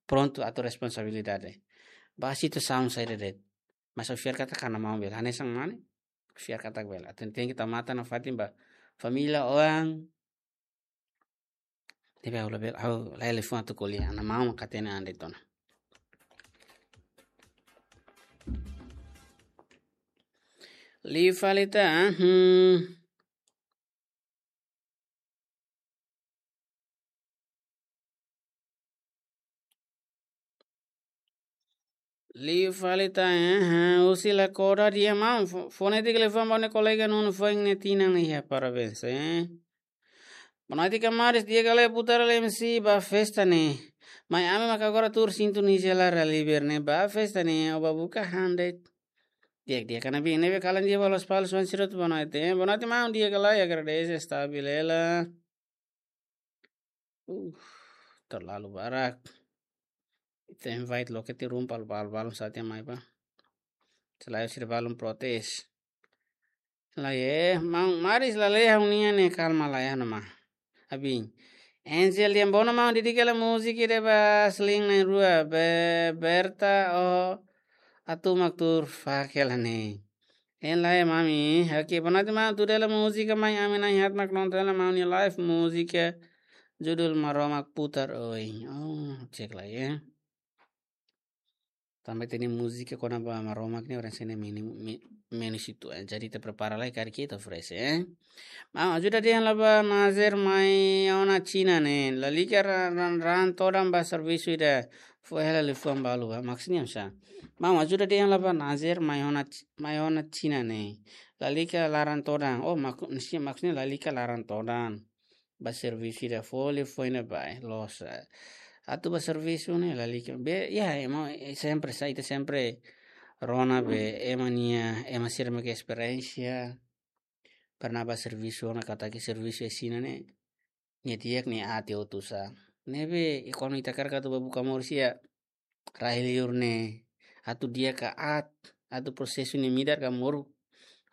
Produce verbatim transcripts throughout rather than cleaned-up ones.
prontu atu responsabilidade. Ba situasaun saida de'it. Mas ha'u fiar katak ha'u-nia maun bele. Hanesan mane? Fiar katak bele. Atu tenke tau matan nafatin ba família oan. Tapi ha'u labele, ha'u la telefone atu ko'alia. Ha'u-nia maun mak hatene an de'it ona. Liu fali tan, hmm. Liu fali tan, eh, husi Lakoda dehan maun, fo-, fone ida liafuan ba ha'u-nia kolega Nuno foin nia tinan iha, parabéns, eh. Boa noite, kamaris, di'ak ka lae Putar M C ba festa ne'e. Mai ami maka agora tuur sintonizia la ra liber ne'e ba festa ne'e, ó ba buka han de'it. Di'ak, di'ak, kana bin, ne'ebé kalan di'ak ba Lospalos, Juan Sirot, boa noite, eh. Boa noite, maun, di'ak ka lae, agradese, estabil hela. Uh, terlalu barak. Ita invite loke tiha ruma balu-balu, balun sira atu mai ba. Selae sira balun protes. Lae, maun, maris lalehan ha'u-nian ne'e kalma lalehan ona. Abin. Angel dehan bono maun, dedika hela múzika ida ba Sling na'in-rua, be-, Berta, oh, atu mak tuur fak hela ne'e. Hein lae, mami. Oke, boa noite, maun, tuur hela múzika mai, ami na'in-haat mak nonton hela maun nia live múzika. Judul Maromak Putar Oin. Oh, cek lai, eh. Tanba ita-nia múzika kona-ba Maromak ne'e orang sene mini, mi-, meni situ, eh. Jadi ita prepara lai karik ita fresh, eh. Maun, ajuda dehan la ba Nazer mai ona Xina ne'e. Lalika ra-, ran, ran todan ba servisu ida. Fó hela liafuan balu ba. Maksudnya misa. Maun, ajuda dehan la ba Nazer mai ona X-, mai ona Xina ne'e. Lalika la ran todan. Oh, mak-, maksudnya, maksudnya lalika la ran todan. Ba servisu ida fó liafuan ne'e ba, eh, loos, eh. Atu ba servisu ne'e lalika. Be, ya, ema, eh, sempre sa, ita sempre rona be, ema nia, ema sira mak esperiénsia. Pernah ba servisu, ona katak servisu iha Xina ne'e. Nia di'ak, nia aat hotu sa. Ne'ebé, i kuandu ita hakarak atu ba buka moris iha rai-liur ne'e, atu di'ak ka aat, atu prosesu ne'e midar ka moruk,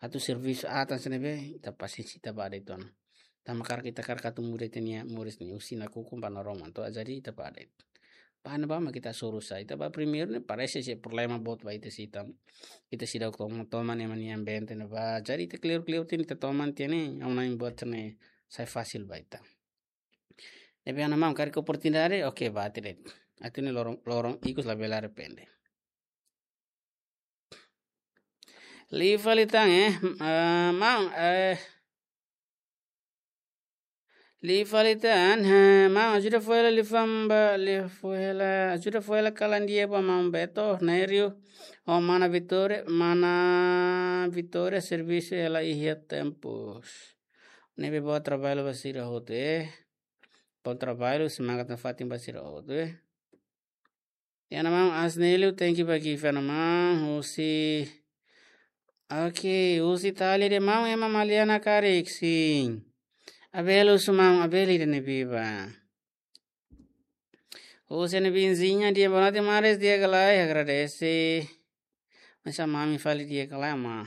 atu servisu aat hanesan ne'ebé, ita pasiénsia ita ba de'it ona. Tanba hakarak ita hakarak atu muda ita-nia moris ne'e husi nakukun ba naroman to'o, jadi ita ba de'it. Ba ne'ebá mak ita hasoru sa, ita ba primeiru ne'e parese sei problema boot ba ita sei ita. Ita seidauk toman, toman ema nia ambiente ne'ebá. Jadi ita kleur-kleur tiha ona, ita toman tiha ona ne'e, ha'u-nia buat ne'e sai fasil ba ita. Ne'ebé ha'u-nia maun karik oportunidade, oke, ba ita de'it. Atu ne'e loron, loron ikus labele arrepende. Liu fali tan, eh, ah, maun, eh. Liu fali tan, eh, maun, ajuda fó hela liafuan ba, liafuan hela, ajuda fó hela kalan di'ak ba maun Beto, Nerio, ho mana Vitória, mana Vitória servisu hela iha Tempus. Ne'ebé boa traballu ba sira hotu, eh. Bom trabalho, semangat nafatin ba sira hotu, eh. Ha'u-nia maun Asnelio, thank you ba gift, ha'u-nia maun, husi. Oke, husi Itália dehan maun, ema Maliana karik, sin. Abel husu maun, Abel ida ne'ebé ba. Husi ha'u-nia vizinha dehan boa noite, maris, di'ak ka lae, agradese. Masa mami fali di'ak ka lae, ma.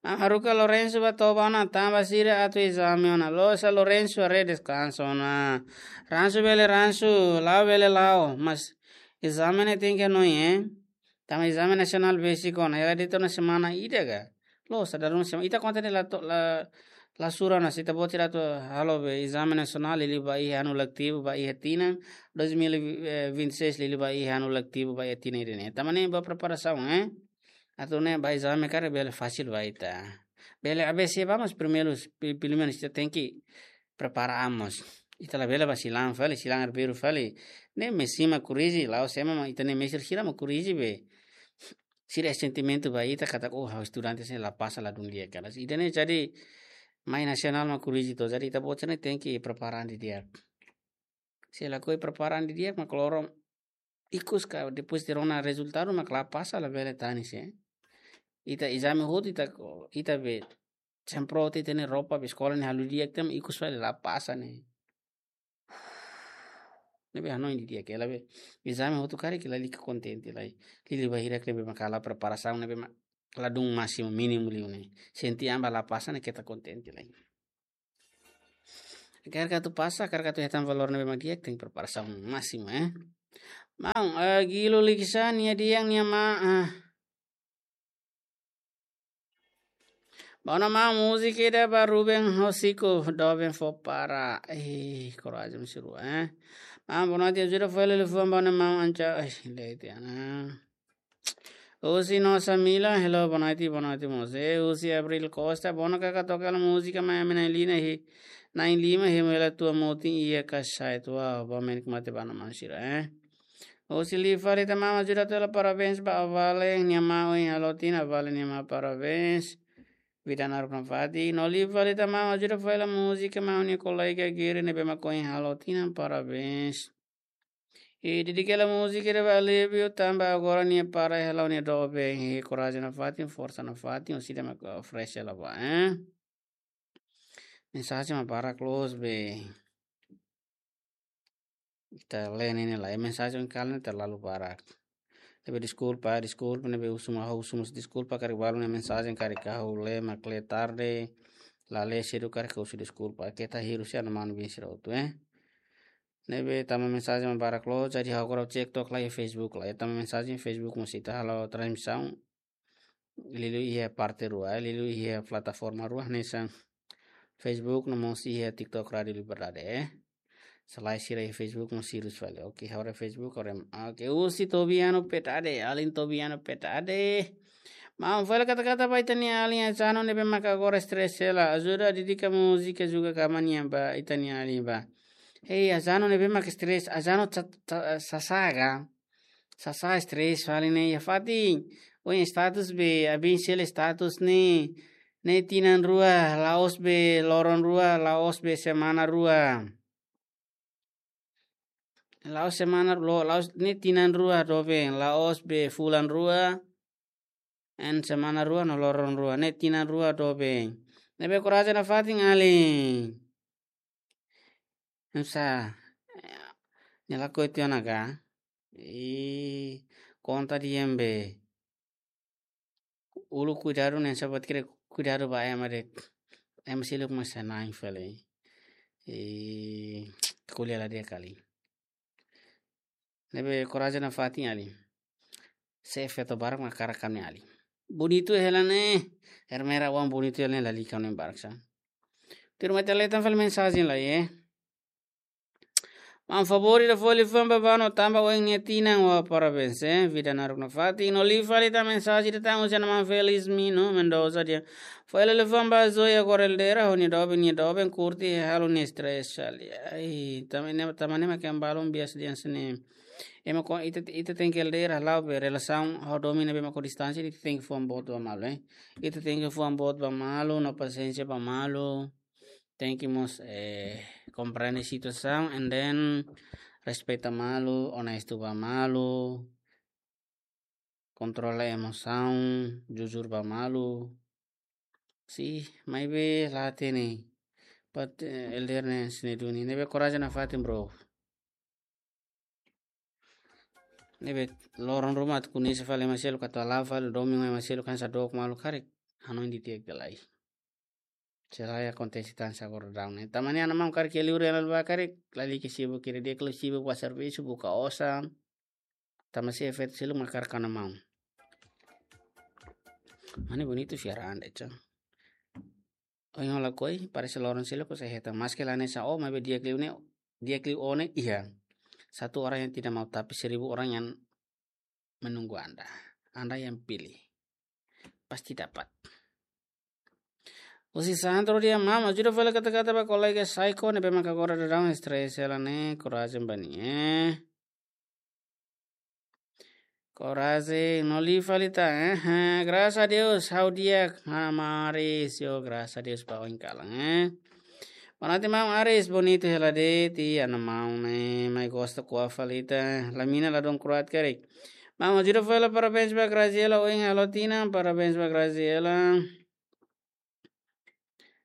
Maun, haruka Lourenço ba toba ona, tanba sira atu ezame ona. Loos sa Lourenço, haree deskansa ona. Ransu bele ransu, la'o bele la'o. Mas ezame ne'e tenke hanoin, eh. Tanba ezame nasionál besik ona. Hela de'it ona semana ida ka. Loos sa dala ruma semana. Ita konta ne'e la to-, la, la sura ona, se ita-boot sira atu halo be ezame nasionál, liuliu ba iha anu letivu, ba iha tinan dois mil e vinte e seis, liuliu ba iha anu letivu, ba iha tinan ida-ne'e. Tanba ne'e ba preparasaun, eh. Atu ne'e ba ezame karik bele fasil ba ita. Bele A B C ba, mas primeiru, pe-, pelumenus ita tenke prepara an mós. Ita labele ba silan fali, silan arbiru fali. Ne'e mestre mak korrije, la'ós ema mak, ita-nia mestre sira mak korrije be. Sira sentimentu ba ita katak, oh, ha'u estudante sira la pasa, ladún di'ak, karik. Ida-ne'e jadi mai nasionál mak korrije to'o, jadi ita-boot sira-ne'e tenke prepara an didi'ak. Se lakohi prepara an didi'ak, mak loron ikus ka depois de rona rezultadu mak la pasa, labele tanis, eh. Ita ezame hotu, ita ko-, ita be semprot ita-nia roupa be eskola ne'e halo di'ak, tan ikus fali la pasa ne'e. Ne'ebé hanoin didi'ak hela be. Ezame hotu karik lalika kontente lai. Liuliu ba hirak ne'ebé mak halo preparasaun ne'ebé mak ladún másimu, mínimu liu ne'e. Sente an ba la pasa ne'e keta kontente lai. Hakarak atu pasa, hakarak atu hetan valór ne'ebé mak di'ak, tenke preparasaun másimu, eh. Maun, eh, Gilo Likisá nia di'ak nia ma, ah. Bá ona maun, múzika ida ba Ruben Hosiko, doben fó para. Eh, korajen mós rua, eh. Maun, boa noite, ajuda fó hela liafuan ba ona maun Anca. Eh, leti ana. Husi Nosa Mila, hello, boa noite, boa noite, mós. Eh, husi Abril Costa, boa noite, kaka toka hela múzika, mai ami na'in lima iha, na'in lima iha hemu hela tua motin iha kasai tua, ba menik mate ba ona maun sira, eh. Husi Liu fali tan maun, ajuda fó hela parabéns ba Avale nia ma ohin halo tinan, Avale nia ma parabéns. Vida naruk nafatin. No Liu fali tan maun, ajuda fó hela múzika maun nia kolega Giri ne'ebé mak ohin halo tinan, parabéns. I dedika hela múzika ida ba Alívio tanba agora nia para hela nia doben, i korajen nafatin, forsa nafatin, husi ida mak oferese hela ba, eh. Mensajen mak barak loos be. Ita lee ne'e ne'e lai, mensajen kalan ne'e terlalu barak. Ne'ebé deskulpa, deskulpa, ne'ebé husu mak, husu mós deskulpa, karik balu ne'e mensajen karik ha'u lee mak lee tarde, la lee sedu karik husu deskulpa, keta hirus ya no manu bin sira hotu, eh. Ne'ebé tama mensajen mak barak loos, jadi ha'u agora cek tok lai Facebook lai, tama mensajen Facebook mós ita halo transmisaun, liuliu iha parte rua, liuliu iha plataforma rua, hanesan Facebook no mós iha TikTok Rádio Liberdade, eh. Selae sira iha Facebook mós hirus fali. Oke, ha'u haree Facebook, haree. Oke, husi Tobiano Petade, alin Tobiano Petade. Maun, fó hela kata-kata ba ita-nia alin Azano ne'ebé maka agora stress hela. Ajuda dedika múzika juga kama nian ba ita-nia alin ba. Hei, Azano ne'ebé maka stress, Azano sa-, sa-, sasá ka? Sasá stress fali ne'e iha fatin. Ohin status be, abin sel status ne'e, ne'e tinan rua, la'ós be loron rua, la'ós be semana rua. La'ós semana lo-, la'ós ne'e tinan rua doben, la'ós be fulan rua, en semana rua no loron rua, ne'e tinan rua doben. Ne'ebé korajen nafatin alin. Nusa, nia lakohi tiha ona ka? I konta di'ak be. Uluk kuidadu ne'e sabat kira kuidadu ba ema de'it. Ema seluk mós na'in fali. I ko'alia la di'ak kali. Ne'ebé korajen nafatin alin. Se feto barak mak hakarak ami-nia alin. Bonitu hela ne'e. Ermera wan bonitu hela ne'e lalika ne'e barak sa. Tuirmai ita lee tan fali mensajen lai, eh. Maun, favór ida fó hela liafuan ba Bano tanba ohin nia tinan, wah, parabéns, eh. Vida naruk nafatin. No Liu fali tan mensajen ida tan husi ona maun Felis Mino Mendoza dehan. Fó hela liafuan ba Zoe agora elder ho nia doben, nia doben kurti halo nia stress fali. Ai, tama ne'e, tama ne'e mak ema balun biasa dehan hanesan ne'e. Ema ko ita, ita tenke elder halo be relasaun ho domin ne'ebé mak ho distánsia, ita tenke fuan boot ba malu, eh. Ita tenke fuan boot ba malu, no pasiénsia ba malu. Tenke mós, eh, komprende situasaun and then respeita malu, onestu ba malu, kontrola emosaun, jujur ba malu. Sin, maibé la hatene. But, eh, elder ne'e hanesan ne'e duni. Ne'ebé korajen nafatin, bro. Ne'ebé loron ruma atu kunisa fali ema seluk, atu hala'o fali domin ema seluk hanesan dook malu karik. Hanoin di'ak ka lae. Selae akontese tan sa agora daudaun ne'e. Tama ne'e ona maun karik iha li'ur hela ba karik, lalika sibuk kira di'ak liu, sibuk ba servisu, buka osan. Tama se feto seluk mak hakarak ona maun. Mane bonitu fiar ande, cang. Ohin ha'u lakohi, parese loron seluk ha'u sei hetan. Maske la hanesan ó, maibé di'ak liu ne'e, di'ak liu ó ne'e iha. Satu orang yang tidak mau tapi seribu orang yang menunggu Anda. Anda yang pilih. Pasti dapat. Husi Sandro dehan, maun, ajuda fó hela kata-kata ba kolega Saiko ne'ebé maka agora daudaun stress hela ne'e, korajen ba nia, eh. Korajen, no Liu fali tan, eh, eh, graças a Deus, ha'u di'ak, ha, Maris, yo, graças a Deus, ba oin kalan, eh. Boa noite, maun Aris, bonitu hela de'it, i ona maun ne'e, mai gosta ko'a fali tan, lamina ladún kroat karik. Maun, ajuda fó hela parabéns ba Graziela, ohin halo tinan, parabéns ba Graziela.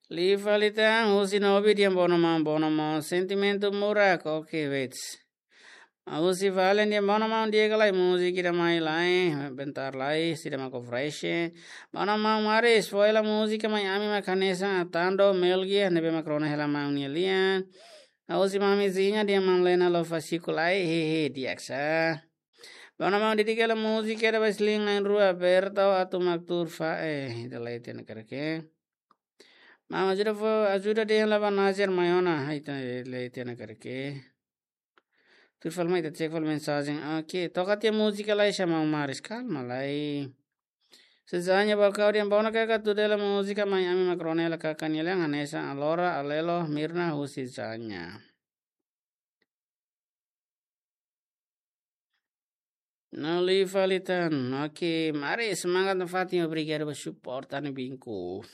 Liu fali tan, husi Nobi dehan bono maun, bono maun, sentimentu murak, oke, wait. Husi Valen dehan bono maun, di'ak ka lae, múzika ida mai lai, bentar lai, sira maka oferese. Bono maun Maris, fó hela múzika mai ami mak hanesan Atando, Melgia, ne'ebé mak rona hela maun nia lian. Husi Mami Zinha dehan maun Lena Lofasiku lai, hehe, di'ak sa. Bá ona maun, dedika hela múzika ida ba Sling na'in-rua, Berta, atu mak tuur fali, eh, ita la hatene karik. Maun, ajuda fó, ajuda dehan la ba Nazer mai ona, ita la hatene karik. Tuur fali mai, ita cek fali mensajen. Oke, toka tiha múzika lai, Maun Maris, kalma lai. Sezanya ba kau dehan, bá ona kaka tuur hela múzika mai, ami mak rona hela kaka nia lian, hanesan Alora, Alelo, Mirna, husi Zanya. No liu fali tan. Oke, Maris, semangat nafatin, obrigadu ba suporta ne'e, binku.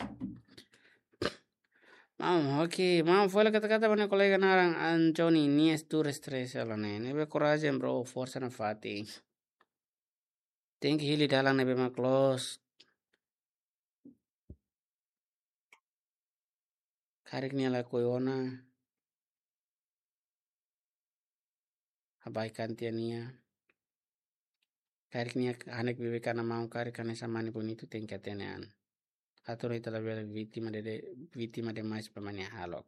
Maun, oke, maun, fó hela kata-kata ba ha'u-nia kolega naran Anthony, nia tuur stress hela ne'e. Ne'ebé korajen, bro, forsa nafatin. Tenke hili dalan ne'ebé mak loos. Karik nia lakohi ona, abaikan tiha nia. Karik nia hanek beibeik ona maun, karik hanesan mane bonitu, tenke hatene an. Atu ita labele vítima de, de, vítima demais ba mane hahalok.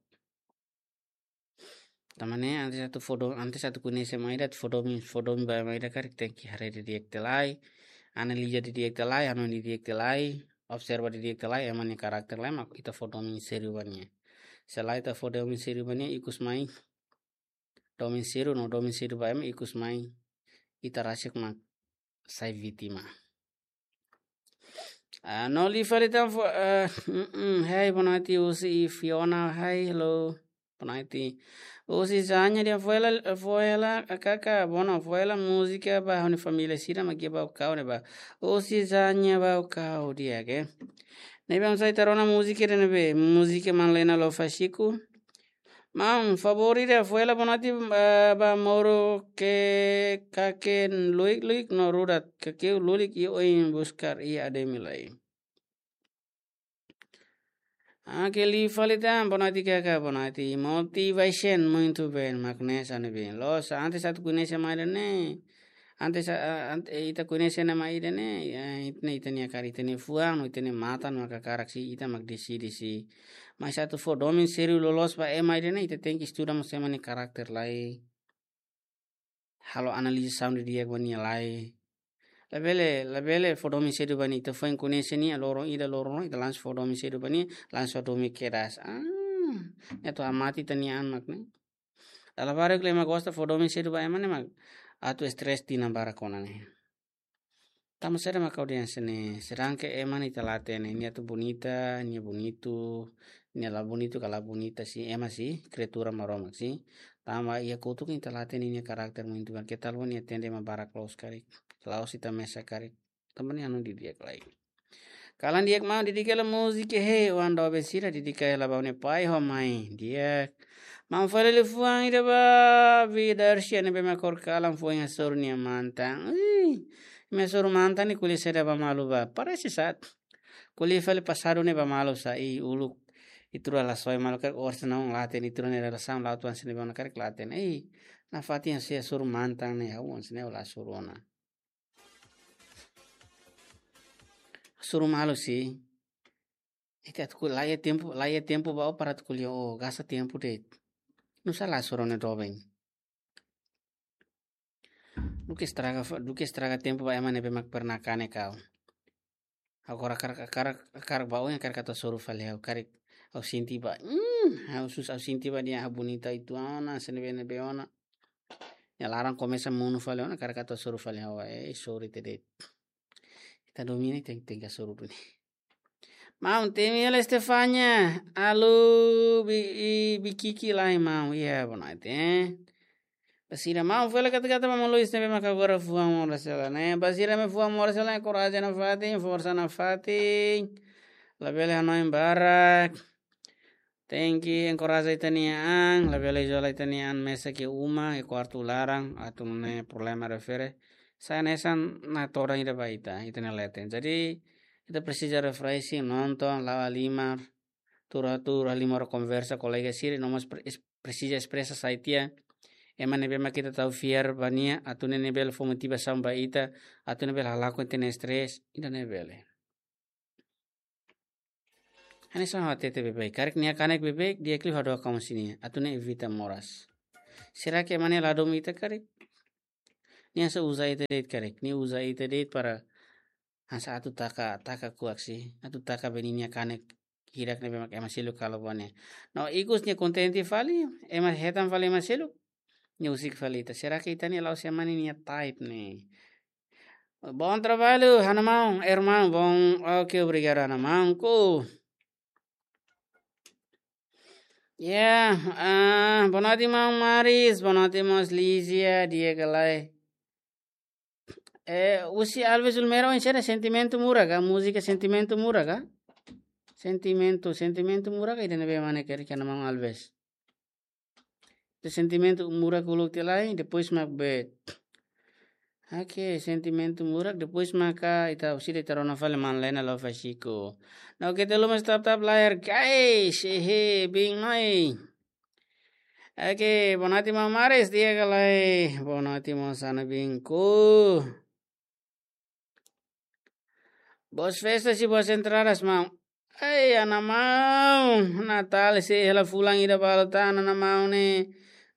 Tanba ne'e, antes atu fó do-, antes atu koñese ema ida, atu fó domin, fó domin ba ema ida karik tenke haree didi'ak tiha lai, analiza didi'ak tiha lai, hanoin didi'ak tiha lai, observa didi'ak tiha lai, ema nia karakter lai, mak ita fó domin sériu ba nia. Se lae ita fó domin sériu ba nia, ikus mai domin sériu, no domin sériu ba ema, ikus mai ita rasik mak sai vítima. Ah, no liu fali tan fó, ah, mm, mm, hey, boa noite, Uzi i Fiona, hey, hello. Boa noite. Uzi Zanya dehan fó hela, fó hela, kaka, bá ona, fó hela múzika ba ha'u-nia família sira, mak iha Baucau ne'ebá. Uzi Zanya Baucau di'ak, eh. Ne'ebé oinsá ita rona múzika ida ne'ebé, múzika Manlena Lofasiku. Maun, favór ida, fó hela boa noite, ah, ba Moro ke kake lulik-lulik no rudat, kake lulik i oin buskar i ademi lai. Ah, ke liu fali tan, boa noite kaka, boa noite. Motivation, muito bem, mak ne'e hanesan ne'ebé. Loos, antes atu koñese ema ida ne'e. Antes, ah, ant-, eh, ita koñese ema ida ne'e, eh, ita ne'e, ita-nia karik, ita-nia fuan, no ita-nia matan, maka karik si, ita mak deside si. Mas atu fó domin sériu loloos ba ema ida ne'e, ita tenke estuda mós ema nia karakter lai. Halo analiza saun didi'ak ba nia lai. Labele, labele fó domin sedu ba nia, ita foin koñese nia, loron ida, loron rua, ita langsung fó domin sedu ba nia, langsung domin kedas. Ah, nia atu hamate ita-nia an mak ne'e. Dala barak ema gosta fó domin sedu ba ema ne'e mak atu stress tinan barak ona ne'e. Tanba saida mak ha'u dehan hanesan ne'e, sedangkan ema ne'e ita la hatene, nia atu bonita, nia bonitu, nia la bonitu ka la bonita si, ema si, kriatura Maromak si. Tanba iha kotuk ita la hatene nia karakter muito bem, ke tal nia atende ema barak loos karik, la'ós ita mesak karik. Tanba nia hanoin didi'ak lai. Kalan di'ak maun, dedika hela múzika, he, oan doben sira, dedika hela ba ó-nia pai ho mãe, di'ak. Maun fali liafuan ida ba Vidarcia ne'ebé mak kór kalan foin hasoru nia mantan. Ih, imi hasoru mantan ne'e ko'alia saida ba malu ba. Parese sat. Ko'alia fali pasadu ne'e ba malu sá, ih, uluk. Ita rua la soe malu karik, orsida ne'e la hatene, ita rua nia relasaun la'o tuan sini ba ona karik la hatene. Ih, nafatin hasoru mantan ne'e, ha'u hanesan ne'e la hasoru ona. Hasoru malu si. Ita atu ko'alia, la iha tempu, la iha tempu ba ó para atu ko'alia, ó gasta tempu de'it. Nusá la hasoru ó-nia doben. Duké estraga fa-, duké estraga tempu ba ema ne'ebé mak pernah kanek ha'u. Agora hakarak, hakarak, hakarak ba ó, hakarak atu hasoru fali ha'u, karik ha'u sente ba. Hmm, ha'u sus, ha'u sente ba dehan ha'u bonita uitoan ona, hanesan ne'ebé ne'ebé ona. Nia laran komesa monu fali ona, hakarak atu hasoru fali ha'u, eh, sorry tede. Ita domin ne'e tenke, tenke hasoru duni. Maun, temi hela Stefania, alô, bi-, i-, bikiki lai maun, iha, boa noite, eh. Ba sira maun, fó hela kata-kata ba maun Luis ne'ebé maka agora fuan moras hela ne'e. Ba sira ne'ebé fuan moras hela, enkoraja nafatin, forsa nafatin. Labele hanoin barak. Tenke enkoraja ita-nia an, labele izola ita-nia an mesak iha uma, iha kuartu laran, atu nune'e problema refere. Sai hanesan natodan ida ba ita, ita-nia leten. Jadi, ita presiza refreshing, nonton, la'o halimar, tuur, tuur halimar konversa kolega sira, no mós pre-, es-, presiza espresa sai tiha ema ne'ebé mak ita tau fiar ba nia, atu nune'e bele fó motivasaun ba ita, atu nune'e bele halakon ita-nia stress, ida-ne'e bele. Hanesan ha'u hatete beibeik, karik nia kanek beibeik, di'ak liu hadook ho nia, atu nune'e evita moras. Será que ema ne'e la domin ita karik? Nia só uza ita de'it karik, nia uza ita de'it para hanesan atu taka, taka kuak sih, atu taka bee ninia kanek hirak ne'ebé mak ema seluk halo ba nia. No, ikus nia kontente fali, ema hetan fali ema seluk, nia husik fali ita. Será que ita-nia la'ós ema ne'e nia type ne'e? Bom trabalho, ha'u-nia maun, irmão, bom, ok, obrigado, ha'u-nia maun, ku. Ya, ah, boa noite, maun Maris, boa noite, mós Lízia, di'ak ka lae. Eh, husi Alves Ulmero, oinsá ida, Sentimentu Murak ka, múzika Sentimentu Murak ka? Sentimentu, Sentimentu Murak ka, ida ne'ebé mak ne'e karik, ha'u-nia maun Alves. Ita Sentimentu Murak uluk tiha lai, depois mak be. Ok, Sentimentu Murak, depois maka ita, orsida ita rona fali maun Lena Lova Chico. No, keta haluha tap-tap layar, guys, hehe, biin mai. Ok, boa noite, maun Maris, di'ak ka lae, boa noite, maun Sana Bingku. Boas festas e boas entradas, maun. Ei, ha'u-nia maun, Natál sei hela fulan ida balu tan, ha'u-nia maun ne'e.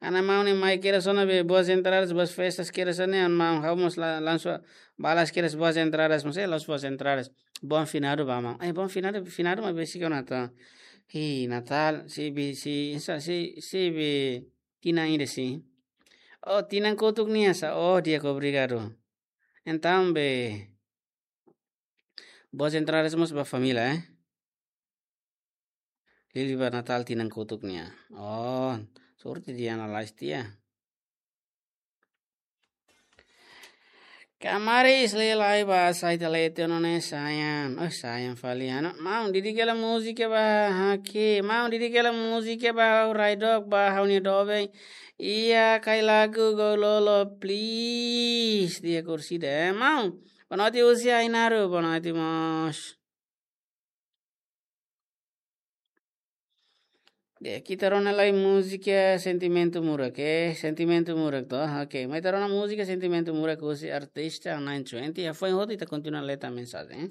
Ha'u-nia maun ne'e mai kedas ona be boas entradas, boas festas kedas ona, ha'u-nia maun. Ha'u mós la-, langsung balas kedas boas entradas, mós, eh, las boas entradas. Bom finado ba maun. Eh, bom finado, finado mak besik ona tan. Hi, Natál, sei be, sei, hanesan, sei, sei be tinan ida sih. Oh, tinan kotuk nian sá. Oh, di'ak, obrigado. Entaun be, boas entradas mós ba família, eh? Liuliu ba Natál tinan kotuk nian. Oh, sorte ida analis tiha. Kamaris lelai ba sai talete none sayang. Oh, sayang fali, ha'u-nia maun, didik hela múzika ba ha'u, maun, didik hela múzika ba ha'u, rai dook ba ha'u-nia doben. Iya, kai lagu Gou Lolo, please. Di'ak orsida, eh, maun. Boa noite, husi Ainaro, boa noite, mós. Di'ak, ita rona lai múzika Sentimentu Murak, eh, Sentimentu Murak to. Ok, mai ita rona múzika Sentimentu Murak husi artista nine twenty. Hafoin hotu ita kontinua leta mensajen, eh.